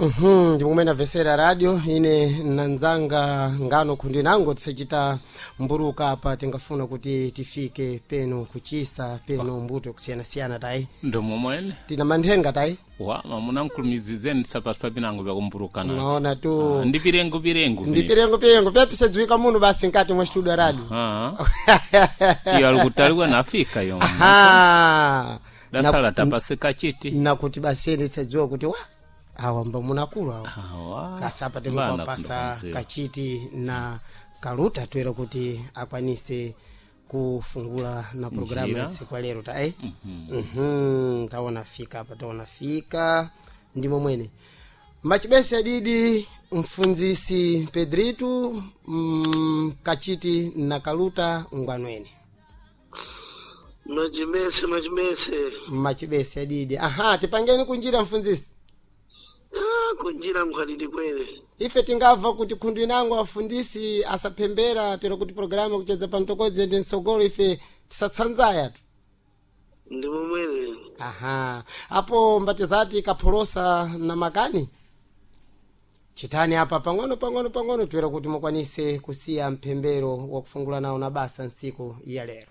Ndikumene amvesera radio ine nanzanga ngano khundi nango tisachita mburuka apa, tingafuna kuti tifike peno kuchisa peno mbuto yakusiyanasiyana tayi. Ndomomwene. Tina manthenga tayi. Wa mamuna nkulumizizeni sapasi papinango vyakumbulukana. Naona tu. Ndi pirengo pirengo. Ndi pirengo pirengo pyapisadziwika muno basi nkati mwa studio ya radio. Ah. Iyo alikutaliwa nafika yo. Aha. Dasala tapasika chiti. Nakuti basi ene tisadziwa kuti wa awa mba munakulu awa. Awa. Kasapa Vana timukwapasa kundokonzera. kachiti na kaluta toera kuti akwanise kufungula na programu Njira. ya tsiku lero ta eh? mm taona fika apa, taona fika ndimo mwene machibesi adidi mfunzisi Pedritu kachiti na kaluta ngwanweni. Machibese, machibese. Machibesi adidi, aha, tipangeni kunjira mfunzisi. Ah, kunjira mkhalidi kwene. Ife tingabva kuti khundu inango afundisi asaphembera tero kuti programu kuchedza pamtokodzi ende msogolo ife tisatsanzaya tu. Ndi momwene. Aha, apo mbatizati kapholosa na makani chitani apa pang'ono pang'ono pang'ono toera kuti mukwanise kusiya mphembero wakufungula nawo na basa ntsiku ya lero.